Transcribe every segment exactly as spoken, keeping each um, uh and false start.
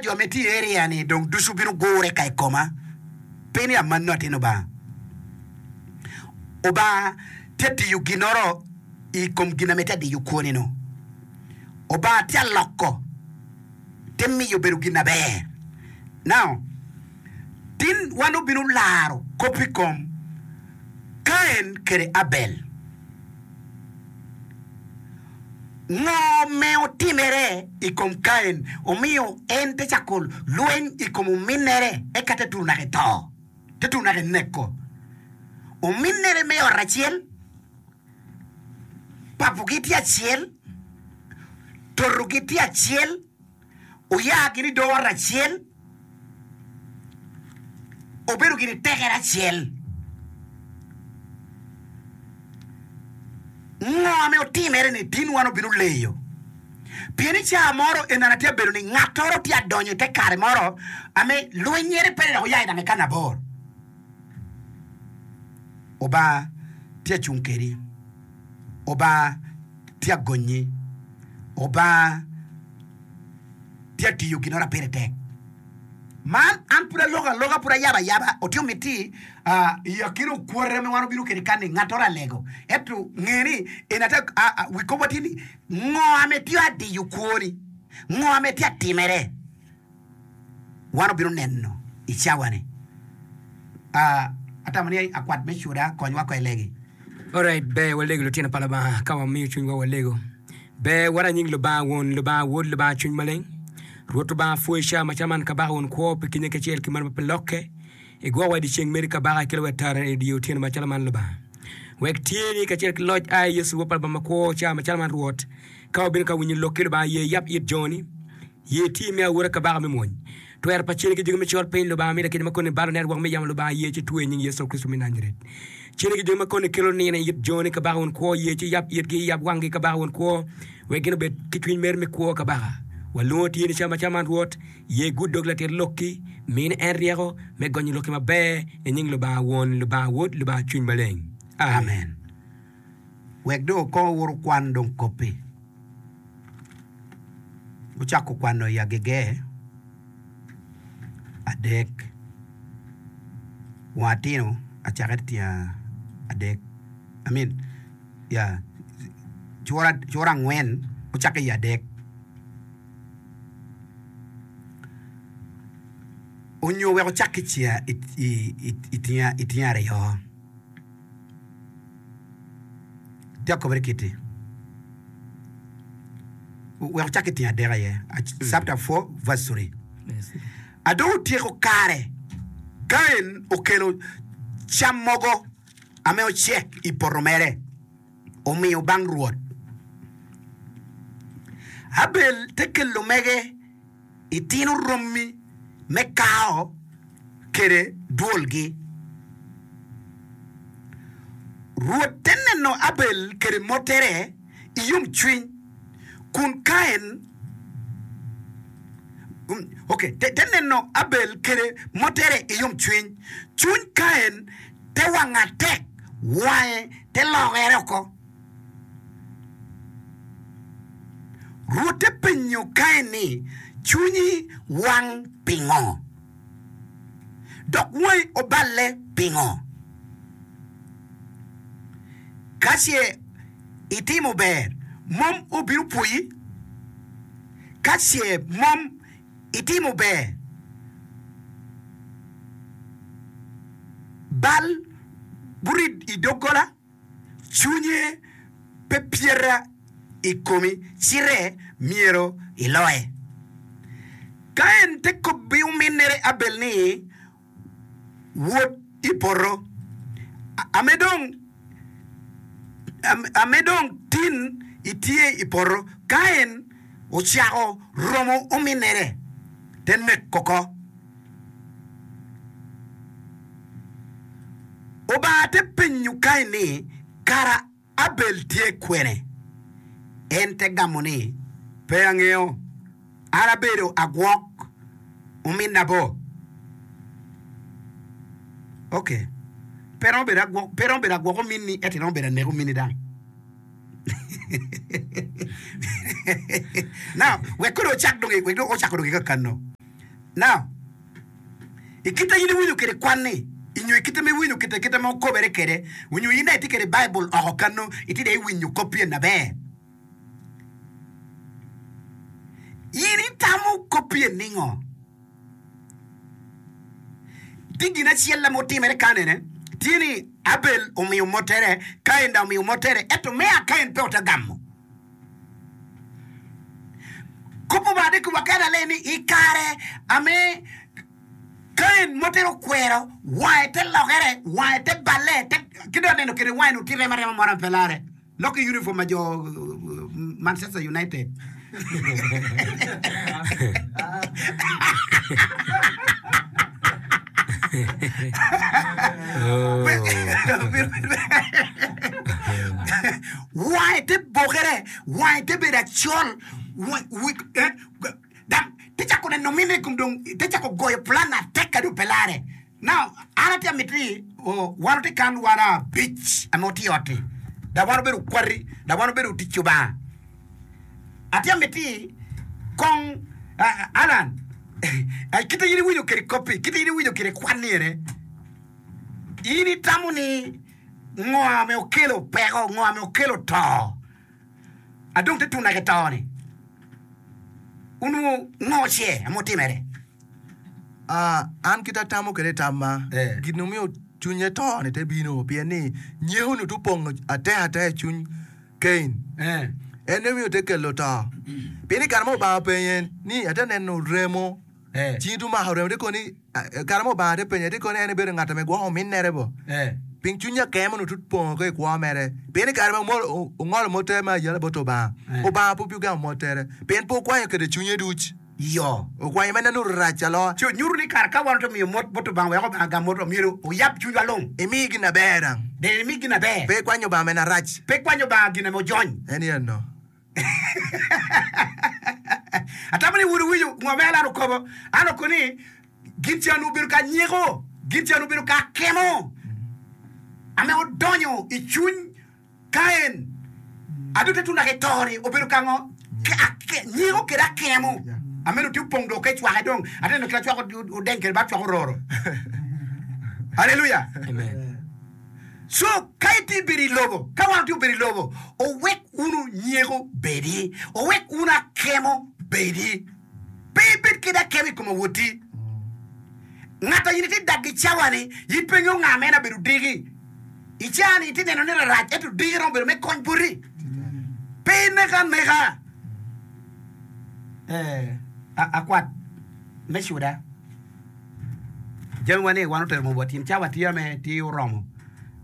jo me tye i area ni dong ducu bino gure ka i koma. Pe ni amanno atin Obanga. Obanga tye tiyo ginoro i kom gin ame tye adiyo kwoni-nu. Obanga tye aloko te miyo bedo gin aber. Now, tin wan obino laro kop i kom Kain kede Abel. Ngo me otimere i kom Kain omiyo en te cako lweny i kom ominere eka te turo naka i to, te turo naka i neko ominere me ot acel? Papogi tye acel, totogi tye acel, oya gin i dog ot acel, obedo gin i tekere acel. Ngo ame otimere ni tin wan obino leyo? Pien i caa moro enana tye abedo ni ngattoro tye adonyo i te kare moro ame lwenyere pe dok oya i dang i kana abor. Obanga tye acung kedi, Obanga tye agonyi, Obanga tye atiyo ginoro a pire tek. Man an pud aloko aloka, pud ayabo ayaba, otimo miti i akina okwote ma wan obino kwede kani, ngattoro alego. Ento nge ni en ate wi kopwa tye ni ngo ame tye adiyo kwoni, ngo ame tye atimere. Wan obino neno i cawa-ni. Atamo ni akwat me cuda konywa ko i legi. Alright, ber walego lutino pa Lubanga ka wamiyo cwinywa walego. Ber wara nying Lubanga Won, Lubanga Wod, Lubanga Cwiny Maleng. Rwot Lubanga pwoyi ca macalo man Kabaka won kwo pi kinye kacel ki mar ma pe lokke. Igwokowa i dyeceng meri Kabaka, ikelo wa tara i dye otyeno macalo man Lubanga. Wek tyeni kacel ki loc ai Yecu Wod pa Lubanga makwo ca macalo man Rwot. Ka wabino ka winyo lokki Lubanga ye yab it joni. Ye ti me awora kabaka me mony. Twero pa cene ki jogi me col piny, Lubanga mi lakite ma koni balo network me yamo Lubanga ye ci twe i nying Yecu Kricito me Najaret. Cene ki jogi ma koni kelo nino i it joni kabaka won kwo ye ci yab itgi yab wanggi kabaka won kwo wek gin obed ki cwiny mer me kwo kabaka. Walwongo tye ni ca macalo man Rwot, ye gud dog latit lokki, mini en ryeko me gonyo lokki maber i nying Lubanga Won, Lubanga Wod, Lubanga Cwiny Maleng. Amen. Amen. Wek dong okong owot okwan dong koppi. Gucako kwano i agege adek, wang atino acake tyen adek I mean ya cura angwen ocakke i adek onyo wek ocak ki i tyen aryo. Tye akobere kiti wek ocak ki tyen adek aye chapter four verse three. Adong otyeko kare Kain okelo cam mogo ame ocek i poto mere omiyo bang Rwot. Abel te kelo mege Itino rommi me kao kede dwolgi. Rwot te neno Abel kede mottere i yomcwiny, kun Kain ok, te neno Abel kede mottere i yomcwiny, cwiny Kain te wang atek, wange te lokere oko. Rwot te penyo Kain ni, Cwinyi wang pingo? Dok wangi oballe pingo? Ka ce itimo ber, mom obino pwoyi? Ka ce mom itimo ber, bal burit i doggola? Cwinye pe pyeta i komi, cite myero iloye. Ka en te kobbi ominnere Abel ni, Wot i poto, ame dong ame dong tin itye i poto. Ka en ocako romo ominnere, te neko oko. Obanga te penyo Kain ni, Kara Abel tye kwene? En te gamo ni, Pe angeyo. An abedo agwok ominna bo? Ok, pe romo bedo agwok, pe romo bedo agwok ominni ento iromo bedo anek ominni dang. Now, wek kodi ocak dong, wek dong ocako dong ki kakano. Now, i kite in iwinyo kede kwan-ni, nyo i kite ma iwinyo kite kite ma okobere kede, nyo in dong itye kede Baibul oko kano, itye dong iwinyo kop pien aber. In itamo kop pien ningo? Tye gin acel ma otimere kan ene, tye ni Abel omiyo mottere, Kain dong omiyo mottere, ento me a Kain pe ote gamo. Kop obade ki wakene aleng ni i kare ame Kain mottere okwero, wange te lokere, wange te balle, te ki dong aneno kede wange ni tye remo arema moro ma pe lare. Lok i uniform ma jo Manchester United. Wange te bokere, wange te bedo acol, dok te cako neno mine i kom dong te cako goyo plan atek kadi pe lare. Now, an atye amito ni wan watye kan wan abic ame watye i ot-ti, dok wan wabedo okwati, dok wan wabedo otic Lubanga. Atye amiti kong Alan, kit ma in iwinyo kwede kop-pi, kit ma in iwinyo kwede kwan-ni ene, in itamo ni ngo ame okelo peko, ngo ame okelo to, adong te tuna ki to-ni, onongo ngo ce ame otimere? An kit atamo kwede i tamma, gin mumiyo cwinye to-ni te bino pien ni nyeko-ni te opongo atek ateka i cwiny Kain. En aye omiyo te kelo to. Pien i kare ma Lubanga openye ni, Ate neno remo, cingi te omako remo, te kono ni, i kare ma Lubanga te penye, te kono ni en ebedo ngat ame gwoko ominnere bo. Pien cwiny akemo onongo tye opongo ki i kwo mere. Pien i kare ma ongolo motte me ayela bot Lubanga, Lubanga pe ogamo mottere, pien pe okwanyo kwede cwinye duc. Iyo. Okwanyo me neno rac aloa. Ci onyuto ni kare ka wan omiyo mot bot Lubanga wek Lubanga ogam motwa, myero oyab cwinywa lung. Imi gin aber dang. Dong imi gin aber. Pe ikwanyo Lubanga meno arac. Pe ikwanyo Lubanga gin ame ojony. En eno. Atamo ni wun wuwinyo ngo me Alan okobo. An oko ni gin can obedo ka nyeko, gin can obedo ka akemo ame odonyo i cwiny Kain, adutte tun dok i to-ni obedo ka ngo? Nyiko kede akemo. Ameno tye opong dong ka icwake dong. Ate neno kit acwako odeng kede bad cwako ororo. Aleluya! So, ka itye bedo i lobo, ka wan watye obedo i lobo, owek wunu nyeko bedi, owek wunu akemo bedi. Pe ibed kede akemo i kom awoti. Ngat a in itye dag ki cawa-ni, in pe ingeyo nga ma en abedo diki. I caa-ni itye neno ni rarac, ento diki romo bedo me kony boti. Pe ineke aneka. Eh, akwat me cuda. Jami wa ni wan otero mom wa tin cawa tye ame tye oromo.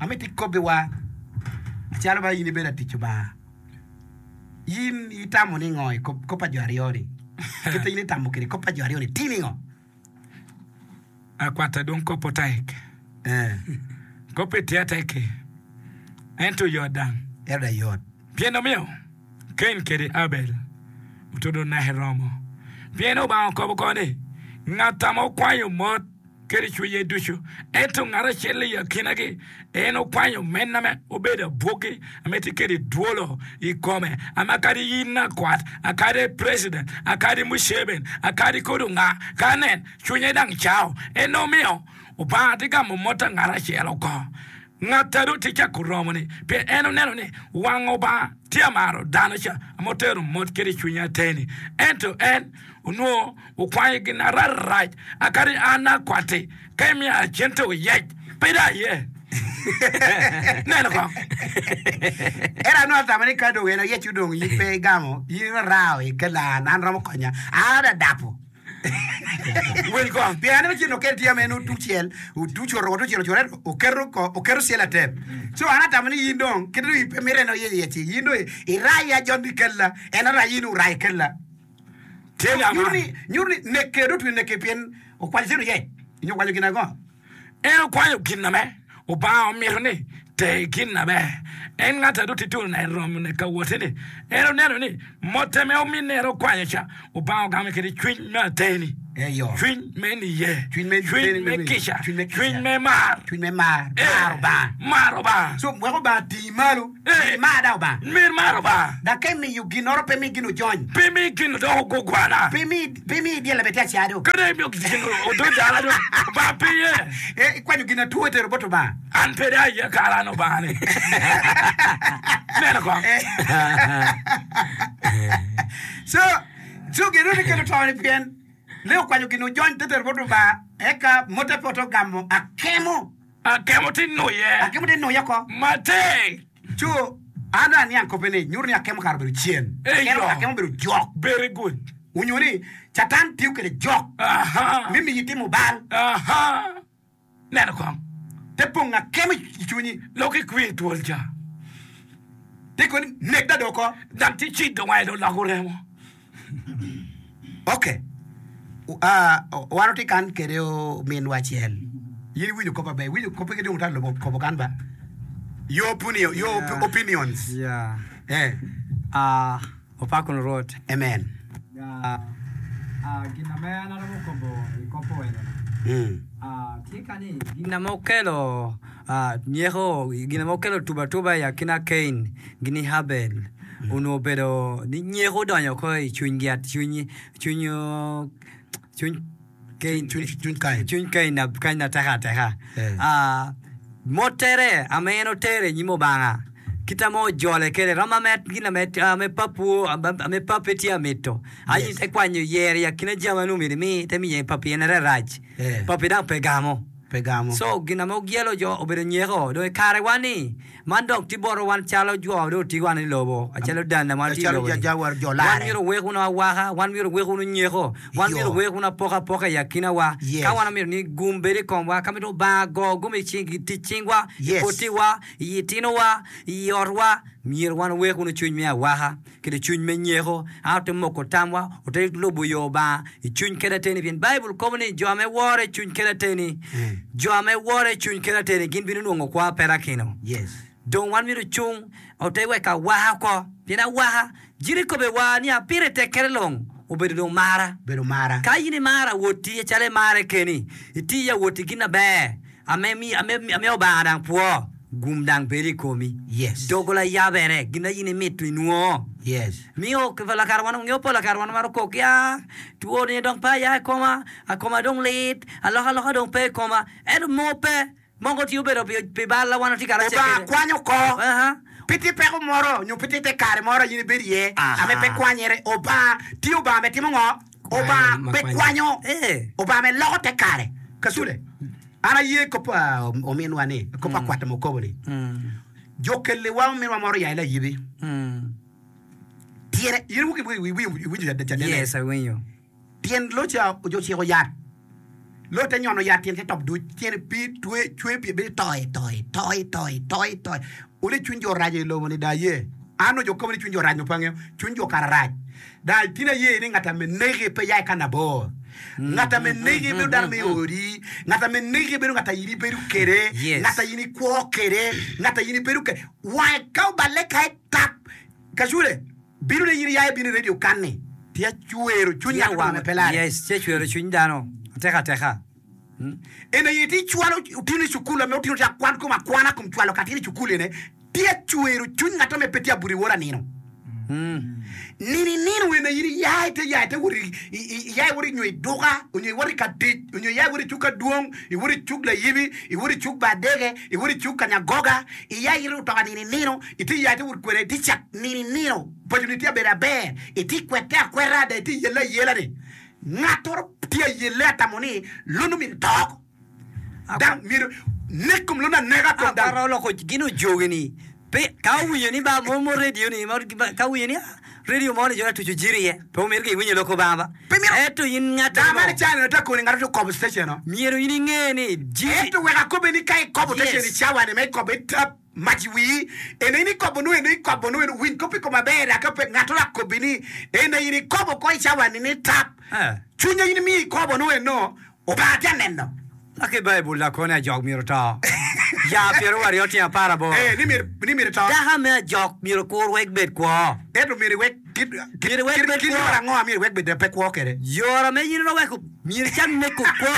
Amiti ikobbiwa macalo ma in ibedo atic Lubanga. In itamo ni ngo i kop pa jo aryo-ni? Kit ma in itamo kwede kop pa jo aryo-ni tye ningo? Akwata dong kop otek. Eh. Koppe tye atek-ki, ento yot dang. Ento dang yot. Pien omiyo Kain kede Abel otudo neke romo. Pien Obanga okobo oko ni, Ngat ame okwanyo mot kede cwinye ducu, ento ngat acel i akinagi en okwanyo mene ame obedo abwogi ame tye kede dwolo i kome, ame akadi in akwat, akadi president, akadi Museveni, akadi kodi onga, ka nen, cwinye dang cao. En omiyo Obanga tye gamo mot a ngat acel oko. Ngat a dong tye cako romo-ni, pien en oneno ni wang Obanga tye amaro dano ca ame otero mot kede cwinye atir-ni. Ento en onongo okwanyo gin ararac, akadi an akwatti, ka imiya cente oyec, pe dong aye. Neno kong. Ento anongo atamo ni ka dong en oyec odong in pe igamo, in irarao i kelan, an romo konya, an adadapo. Wil kong. Pien aneno cen okel tye ame en otucel, otuco oromo tucel ocoro ento oketo ko, oketo cel atep. So an atamo ni in dong kit dong pe mito en oyec yec-ci, in dong iraya John Bikella, en arayi in orayi kella. Tye Nyuto lama. ni, nyuto ni nekke dong otwe nekke pien okwanyo cen oyec, nyo okwanyo gin ango? En okwanyo gin ame Obanga omito ni ter gin aber. En ngat a dong tye tunu ne romo ne ka wote ni, en oneno ni motte me ominne en okwanyo ca, Obanga ogame kede cwiny me ateni. Eyo. Cwiny me niye. Cwiny me- Cwiny me- me kica. cwiny me kica. Cwiny me mar. Cwiny me mar. Eh, Mar Obanga. Mar Obanga. So wek Obanga tii malo. Eh. Mar da Obanga. Mir mar Obanga. Dok ka imiyo ginoro pe mi gin ojony. Pe mi gin odoko gugwana. Pe mi pe mi dyel bene tye acado. Kadi imiyo gin odo jala do. Obanga pe ye. Eh, ikwanyo gin atwo itero bot Obanga. An pe dong aye kara an Obanga ni. Neno kong. So so gin ni kelo to ni pien le okwanyo gin ojony te tero bot Obanga eka mote pe oto gamo akemo. Akemo ti nuye. Akemo te nuye oko. Matek. Co an aniang kope ni nyuto ni akemo kara obedo cen. Eyo. Akemo akemo obedo jok. Very good. Onyo ni Catan tiyo kede jok Aha. mi miyi timo bal Aha. Neno kong. te pong akemo i cwinyi Lok ikwi twol ca. te koni nek da doko. Dang ti cido wange dong loko remo. Okay. Uh, wan otye kan kede ominwa acel. In iwinjo kop aber, iwinjo kope ki dong ota lubo kopo kan ba. Your opinion, your Yeah. opinions. Yeah. Eh, Ah, opako Rwot. amen. Ah, ah, gin ame an aromo kobo i kopo eno. Mm. Ah, tye ka ni gin ame okelo ah, nyeko gin ame okelo tuba tuba i akina Cain gini Abel onongo obedo ni nyeko odonyo oko i cwinygi at cwiny cwiny cwiny Cain Cwiny cwiny Kain. cwiny Cain na Kain ateka ateka. Eh. Ah, motere ame en otere i nyim Obanga kita mo ojole kede romo ame gin ame ame papu ame pape tye amito ayi Yes. te kwanyo yero i akina jami ame myero imi te miye papi en rarac Eh. papi dang pe gamo Pe gamo. so gin ame ogyelo jo obedo nyeko dong i karewa ni man dok tye boto wan calo jo dong otye wan i lobo acalo dana ma tye i Acalo lobo ni. ja- ja- jo Wan lare. myero owek wunu awaka wan myero owek wunu nyeko wan Yo. myero owek wunu apokapoka i akinawa Yes. ka wan omyero ni gum bed i komwa ka mito Obanga go gum i cing- i tic cingwa i Yes. potiwa i tinowa i otwa myero wan owek wunu cwiny me awaka kede cwiny me nyeko an ote moko tamwa ote lubo yo Obanga i cwiny kede ateni pien Baibul kobo ni jo ame wore i cwiny kede ateni Mm. jo ame wore i cwiny kede ateni gin bino nwongo kwa perakino Yes. dong wan myero cung ote wek awaka oko pien awaka jiri kobe wa ni apire tek kede long obedo dong mara Bedo mara. ka in imaro awoti calo imare keni iti awoti gin aber ame mi ame ame Obanga dang pwo gum dang bedo i komi Yes. dogola yabere gin a in imito inwongo Yes. miyo lakar wan ngeo pol lakar wan maro kok ya two ni dong pe aya i koma akoma dong lit alokaloka dong pe i koma ento mo pe moko tye obedo pi pi bal a wan watye karacel Obanga kede. kwanyo oko. Aha. Pe tye peko moro nyo pe tye te kare moro in ibedo iye Aha. ame pe kwanyere Obanga tye Obanga me timo ngo Obanga Ma pe kwanyo. kwanyo Eh. Obanga me loko te kare kasule an aye kop ah, ominwa ni kop akwata mokobo ni Mm. jo kelliwa ominwa moro ya ila yibi Mm. tyene in wuki iwinjo cadene Yes, awinjo. tyen loca jo ciko yat lo te nyono yat tyen te top duc tyene pi twe cwe pi bedo toi toi toi toi toi toi ole cwiny jo raco i lobo ni da ye an ojo kobo ni cwiny jo rac no pe angeo cwiny jo kara rac da tin aye ni ngat ame negi pe ya i ka nabor ngat ame negi bedo dano me odi ngat ame negi bedo ngat a in ibedo kede Yes. ngat a in ikwo kede ngat a in ibedo kede wange ka oballe ka itap kacule bino ne in iya ibino i radio kan ni tye cwero cwiny Tye ngat wang- ame pe lare Yes, tye cwero cwiny dano ateka ateka. en aye tye cwalo otino i cukul ame otino tye akwan kom akwana kom cwalo ka tino i cukul ene tye cwero cwiny ngat ame pe tye abuto iwor anino Mm. nini nino ene in iya ite ya ite wot i- i- i- iya iwot nyo i duka onyo iwot i ka tic onyo iya iwot i cuk adwong iwot i cuk layibi iwot i cuk badege iwot i cuk kanyagoga iya ito otoka nini nino ite ya ite wot kwede ite cak nini nino paconi tye abedo aber ite kwete akweta da ite yele ayela ni ngatoro tye ayele atamo ni lono myero tok dang myero nek kom lono aneka kom dang Akwara oloko gin ojogi ni pe ka owinjo ni ba mo mo radio ni mo ka owinjo ni ah, radio mo ni jo atuco jiri iye pe omyero ki iwinjo lok Obanga Pe myero- ento in ngat dang mo man icani te koni ngato tye okobo station no myero in inge ni jiri ento wek akobe ni ka ikobo Yes. station i cawa ni me ikobo itap mac i wii ene in ikobo nu eno ikobo nu eno winy kop i kom aber aka pe ngato akobi ni ene in ikobo ko i cawa ni ni tap Eh. cwinye in imiyo ikobo nu eno Obanga tye aneno laki Baibul lakoni ajok myero to ya pyero aryo tyen apar aboro Eh, ni myero ni myero to daka me ajok myero kur wek bed kwo ento myero iwek Kit Myero iwek bed kit kwo. yore ango myero iwek bed pe kwo kwede? Yore me in weko myero icak neko kwo.